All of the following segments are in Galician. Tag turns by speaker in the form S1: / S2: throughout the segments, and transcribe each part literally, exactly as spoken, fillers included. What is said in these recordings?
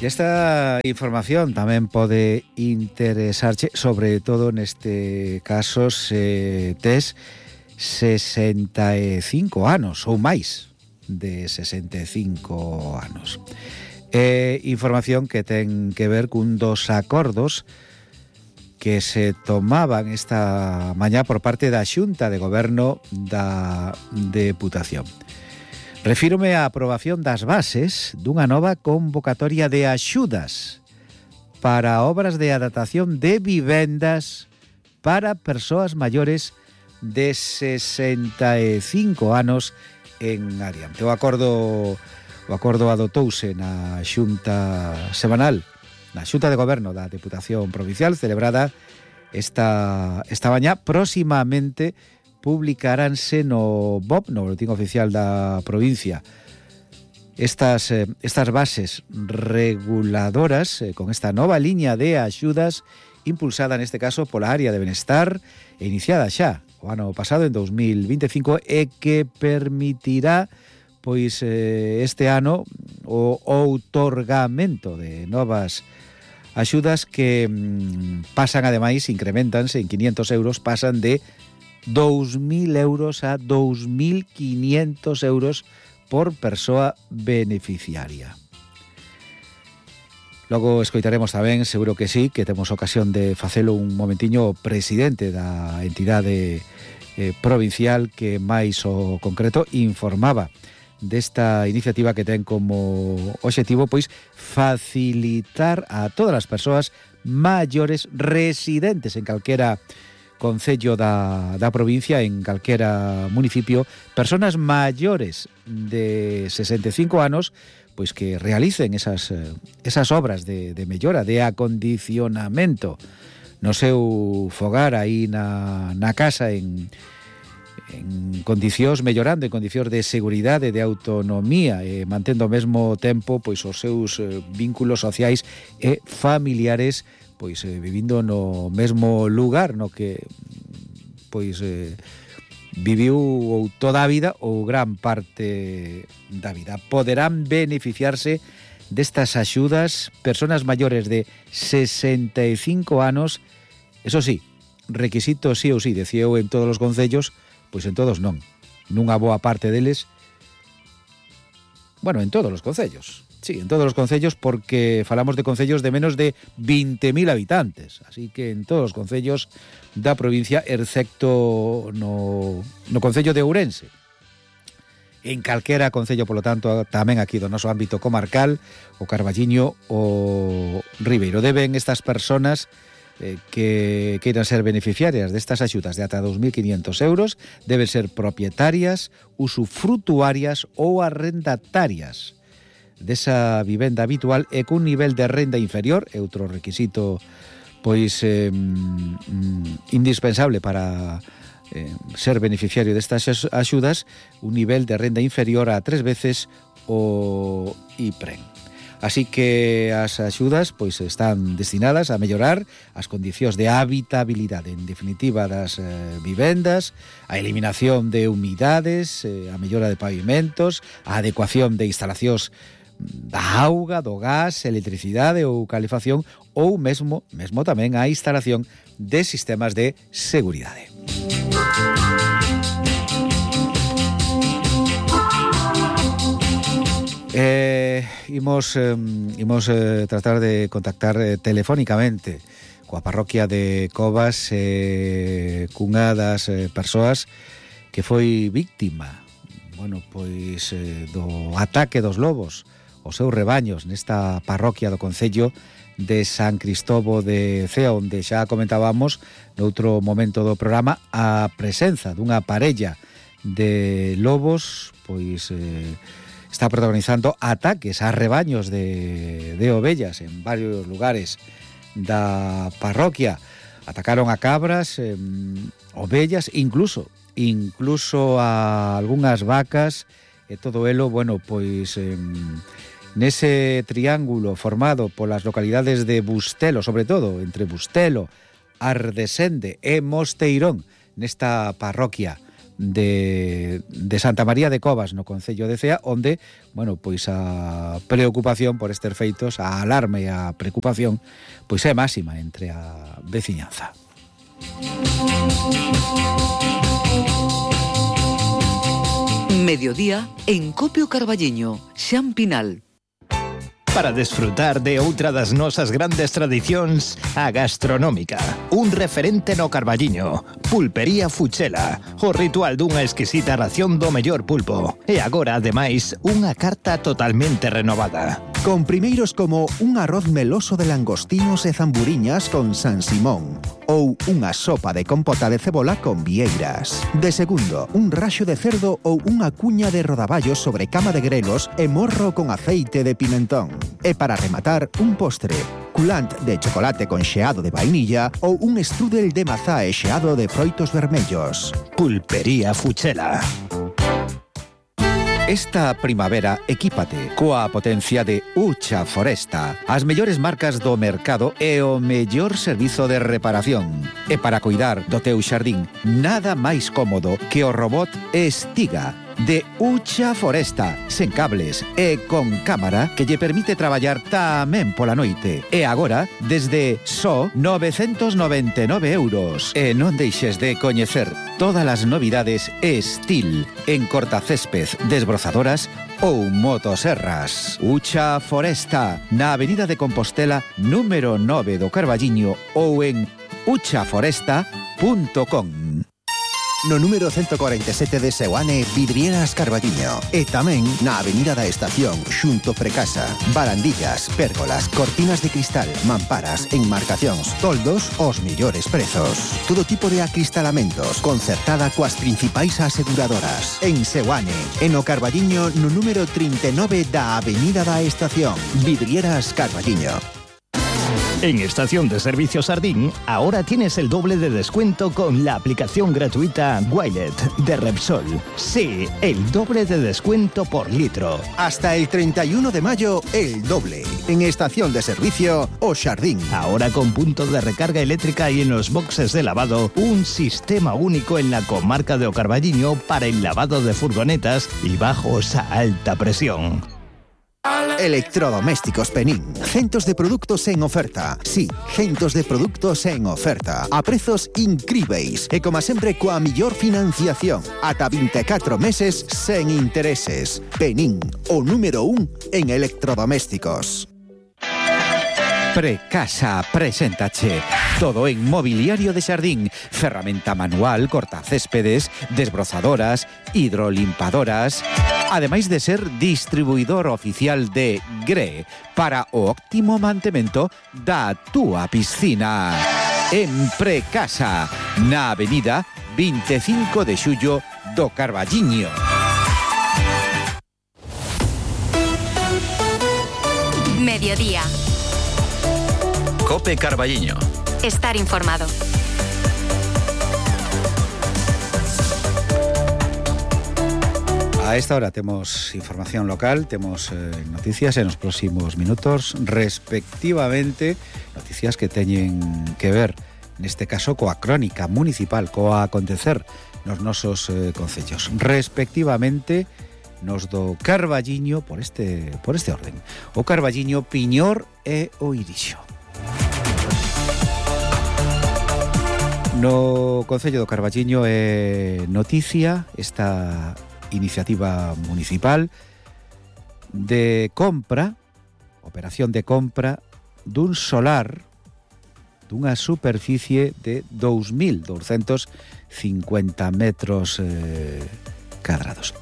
S1: E esta información tamén pode interesarche, sobre todo neste caso se tes sesenta e cinco anos ou máis de sesenta e cinco anos. É información que ten que ver cun dos acordos que se tomaban esta mañá por parte da Xunta de Goberno da Deputación. Refírome á aprobación das bases dunha nova convocatoria de axudas para obras de adaptación de vivendas para persoas maiores de sesenta e cinco anos en adiante. O acordo, o acordo adotouse na Xunta semanal, na Xunta de Goberno da Deputación Provincial, celebrada esta, esta mañá. Próximamente publicaránse no B O P, no Boletín Oficial da Provincia, estas, eh, estas bases reguladoras eh, con esta nova liña de axudas impulsada neste caso pola área de Benestar e iniciada xa o ano pasado, en dos mil vinte e cinco, e que permitirá pois eh, este ano o outorgamento de novas axudas que mm, pasan, ademais, incrementanse en quinientos euros, pasan de dous mil euros a dous mil quinientos euros por persoa beneficiaria. Logo escoitaremos tamén, seguro que sí, que temos ocasión de facelo un momentiño, o presidente da entidade eh, provincial que máis o concreto informaba desta iniciativa que ten como obxectivo pois facilitar a todas as persoas maiores residentes en calquera concello da, da provincia, en calquera municipio, personas maiores de sesenta e cinco anos, pois que realicen esas, esas obras de, de mellora, de acondicionamento no seu fogar, aí na, na casa, en, en condicións, mellorando en condicións de seguridade, de autonomía, e mantendo ao mesmo tempo pois os seus vínculos sociais e familiares, pois eh, vivindo no mesmo lugar no que pois eh, viviu ou toda a vida ou gran parte da vida. Poderán beneficiarse destas axudas persoas maiores de sesenta e cinco anos, eso sí, requisito sí ou sí, decía eu, en todos os concellos, pois en todos non, nunha boa parte deles, bueno, en todos os concellos. Sí, en todos os concellos, porque falamos de concellos de menos de vinte mil habitantes. Así que en todos os concellos da provincia, excepto no, no concello de Ourense. En calquera concello, polo tanto, tamén aquí do noso ámbito comarcal, o Carballiño, o Ribeiro. Deben estas personas eh, que queiran ser beneficiarias destas axudas de ata dous mil quinientos euros, deben ser propietarias, usufrutuarias ou arrendatarias desa vivenda habitual e cun nivel de renda inferior, é outro requisito pois eh, mm, indispensable para eh, ser beneficiario destas axudas, un nivel de renda inferior a tres veces o I P R E N. Así que as axudas pois están destinadas a mellorar as condicións de habitabilidade, en definitiva, das eh, vivendas, a eliminación de humidades, eh, a mellora de pavimentos, a adecuación de instalacións da auga, do gas, electricidade ou calefacción, ou mesmo, mesmo tamén a instalación de sistemas de seguridade. Eh, imos, eh, imos eh, tratar de contactar eh, telefónicamente coa parroquia de Covas, eh, cunha das eh, persoas que foi víctima, bueno, pois eh, do ataque dos lobos os seus rebaños nesta parroquia do concello de San Cristobo de Cea, onde xa comentábamos noutro momento do programa a presenza dunha parella de lobos, pois eh, está protagonizando ataques a rebaños de, de ovellas en varios lugares da parroquia. Atacaron a cabras, eh, ovellas, incluso incluso a algunhas vacas, e todo elo, bueno, pois eh, nese triángulo formado polas localidades de Bustelo, sobre todo entre Bustelo, Ardesende e Mosteirón, nesta parroquia de, de Santa María de Covas, no concello de Cea, onde, bueno, pois a preocupación por estes feitos, a alarma e a preocupación, pois é máxima entre a veciñanza.
S2: Mediodía en Copio Carballiño, Xan Pinal.
S3: Para desfrutar de outra das nosas grandes tradicións, a gastronómica. Un referente no Carballiño, Pulpería Fuchela, o ritual dunha exquisita ración do mellor pulpo. E agora, ademais, unha carta totalmente renovada.
S4: Con primeiros como un arroz meloso de langostinos e zamburiñas con San Simón, ou unha sopa de compota de cebola con vieiras. De segundo, un raxo de cerdo ou unha cuña de rodaballos sobre cama de grelos e morro con aceite de pimentón. E para rematar, un postre, culant de chocolate con xeado de vainilla ou un strudel de mazá e xeado de froitos vermellos.
S3: Pulpería Fuchela.
S1: Esta primavera, equípate coa potencia de Ucha Foresta, as mellores marcas do mercado e o mellor servizo de reparación. E para cuidar do teu xardín, nada máis cómodo que o robot Estiga de Ucha Foresta, sen cables e con cámara que lle permite traballar tamén pola noite. E agora, desde só novecentos noventa e nove euros. E non deixes de coñecer todas as novidades Estil en cortacésped, desbrozadoras ou motoserras. Ucha Foresta, na Avenida de Compostela, número nove do Carballiño ou en ucha foresta punto com.
S4: No número ciento cuarenta e sete de Seoane, Vidrieras Carballiño. E tamén na Avenida da Estación, xunto Precasa. Barandillas, pérgolas, cortinas de cristal, mamparas, enmarcacións, toldos, os mellores prezos. Todo tipo de acristalamentos, concertada coas principais aseguradoras. En Seoane, e no Carballiño, no número trinta e nove da Avenida da Estación. Vidrieras Carballiño.
S3: En Estación de Servicio Sardín, ahora tienes el doble de descuento con la aplicación gratuita Wilet de Repsol. Sí, el doble de descuento por litro.
S4: Hasta el treinta y uno de mayo, el doble. En Estación de Servicio O Sardín.
S3: Ahora con punto de recarga eléctrica y en los boxes de lavado, un sistema único en la comarca de O Carballiño para el lavado de furgonetas y bajos a alta presión.
S4: Electrodomésticos Penín. Centos de produtos en oferta. Sí, centos de produtos en oferta. A prezos incríveis. E como sempre coa millor financiación. Ata vinte e catro meses sen intereses. Penín, o número un en electrodomésticos.
S1: Precasa preséntache todo en mobiliario de xardín, ferramenta manual, cortacéspedes, desbrozadoras, hidrolimpadoras, ademais de ser distribuidor oficial de Gre para o óptimo mantemento da túa piscina. En Precasa, na avenida vinte e cinco de xullo do Carballiño.
S5: Mediodía.
S6: Cope Carballiño.
S5: Estar informado.
S1: A esta hora temos información local, temos eh, noticias en os próximos minutos, respectivamente, noticias que teñen que ver, neste caso, coa crónica municipal, coa acontecer nos nosos eh, concellos, respectivamente nos do Carballiño, por este, por este orden, o Carballiño, Piñor e o Irixo. No Concello do Carballiño é noticia esta iniciativa municipal de compra, operación de compra dun solar dunha superficie de dous mil douscentos cincuenta metros eh, cadrados.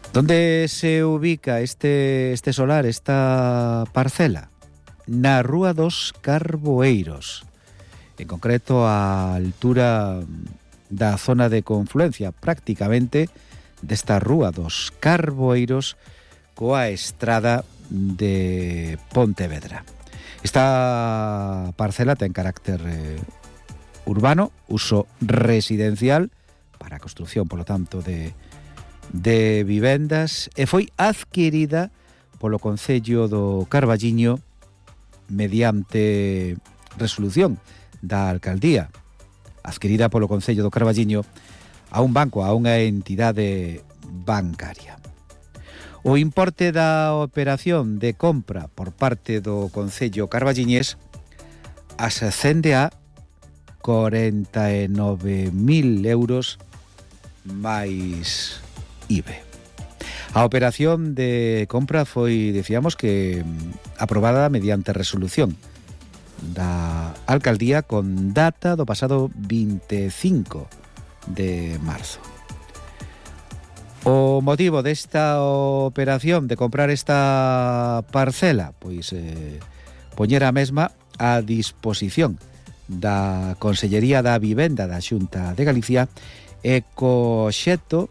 S1: Donde se ubica este, este solar, esta parcela? Na Rúa dos Carboeiros, en concreto a altura da zona de confluencia prácticamente desta Rúa dos Carboeiros coa estrada de Pontevedra. Esta parcela ten carácter eh, urbano, uso residencial para a construción, polo tanto, de, de vivendas, e foi adquirida polo Concello do Carballiño mediante resolución da alcaldía, adquirida polo Concello do Carballiño a un banco, a unha entidade bancaria. O importe da operación de compra por parte do Concello carballiñés ascende a corenta e nove mil euros máis I V A. A operación de compra foi, decíamos, que aprobada mediante resolución da Alcaldía con data do pasado vinte e cinco de marzo. O motivo desta operación de comprar esta parcela, pois eh, poñer a mesma a disposición da Consellería da Vivenda da Xunta de Galicia e co obxecto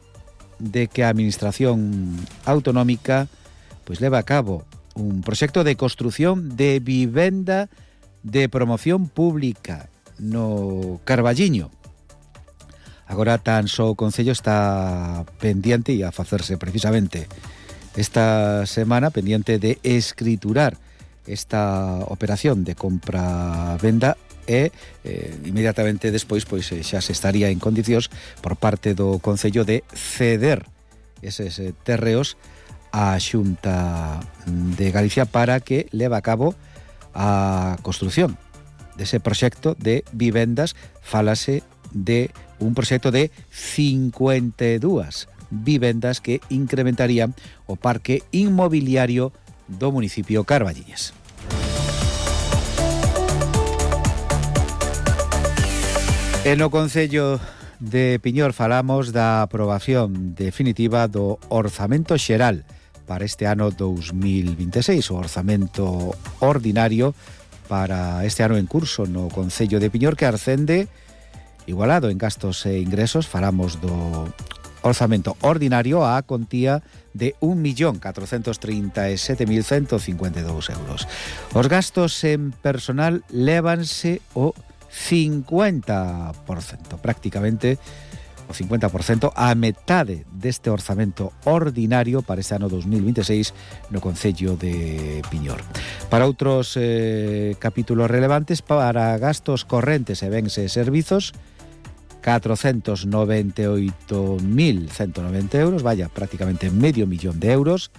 S1: de que a Administración Autonómica pois leva a cabo un proxecto de construción de vivenda de promoción pública no Carballiño. Agora tan só o Concello está pendiente e a facerse precisamente esta semana pendiente de escriturar esta operación de compra-venda e eh, inmediatamente despois pois xa se estaría en condicións por parte do Concello de ceder eses terreos á Xunta de Galicia para que leve a cabo a construción dese proxecto de vivendas. Fálase de un proxecto de cincuenta e dúas vivendas que incrementarían o parque inmobiliario do municipio carballiñés. E no Concello de Piñor falamos da aprobación definitiva do orzamento xeral para este ano dous mil vinte e seis, o orzamento ordinario para este ano en curso no Concello de Piñor, que ascende igualado en gastos e ingresos. Falamos do orzamento ordinario a contía de un millón catrocentos trinta e sete mil ciento cincuenta e dous euros. Os gastos en personal lévanse o cincuenta por cento, prácticamente o cincuenta por cento, a metade deste orzamento ordinario para este ano dous mil vinte e seis no Concello de Piñor. Para outros eh, capítulos relevantes, para gastos correntes e bens e servizos, catrocentos noventa e oito mil ciento noventa euros, vaya, prácticamente medio millón de euros,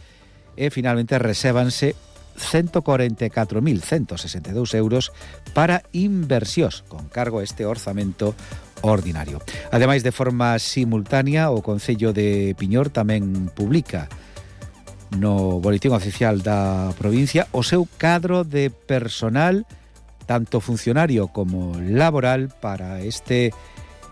S1: e finalmente resébanse ciento cuarenta e catro mil ciento sesenta e dous euros para inversións con cargo a este orzamento ordinario. Ademais, de forma simultánea, o Concello de Piñor tamén publica no Boletín Oficial da provincia o seu cadro de personal, tanto funcionario como laboral, para este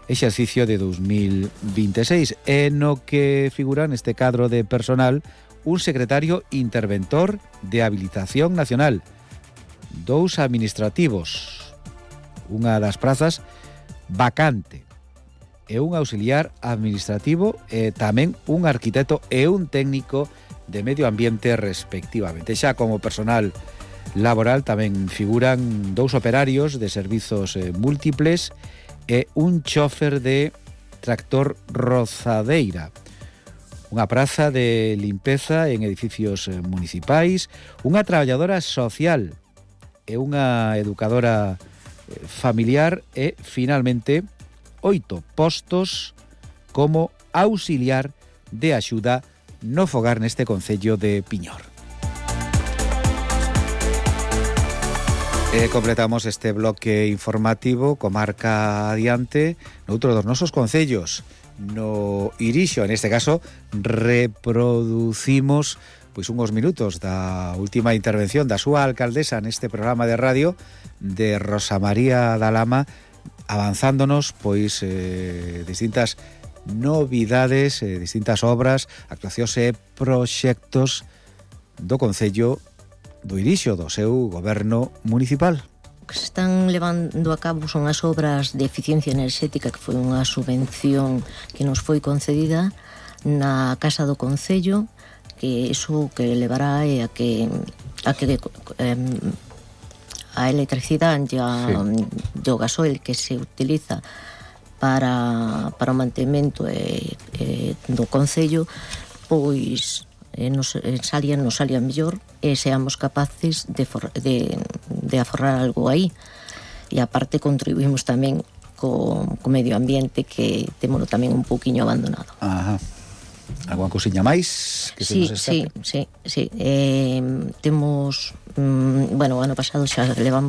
S1: exercicio de dous mil vinte e seis, e no que figura neste cadro de personal un secretario interventor de habilitación nacional, dous administrativos, unha das prazas vacante, e un auxiliar administrativo, e tamén un arquitecto e un técnico de medio ambiente respectivamente. Xa como personal laboral tamén figuran dous operarios de servizos eh, múltiples e un chofer de tractor rozadeira, unha praza de limpeza en edificios municipais, unha traballadora social e unha educadora familiar, e finalmente oito postos como auxiliar de axuda no fogar neste Concello de Piñor. E completamos este bloque informativo comarca adiante noutro dos nosos concellos, no Irixo. En este caso reproducimos pois unhos minutos da última intervención da súa alcaldesa neste programa de radio, de Rosa María da Lama, avanzándonos pois eh, distintas novidades, eh, distintas obras, actuacións e proxectos do Concello do Irixo, do seu goberno municipal.
S6: O que se están levando a cabo son as obras de eficiencia enerxética, que foi unha subvención que nos foi concedida na Casa do Concello, que iso que levará é a que a que eh, a electricidade e a, sí. o gasoil que se utiliza para, para o mantemento e, e do Concello, pois eh, nos salía, nos salía mellor, e seamos capaces de, for, de, de aforrar algo aí. E aparte contribuímos tamén co, co medio ambiente, que témolo tamén un pouquiño abandonado.
S1: Ajá. Alguna cousiña máis que se
S6: Sí,
S1: nos
S6: sí,
S1: escape?
S6: sí, sí. Eh, temos, mm, bueno, o ano pasado xa levamos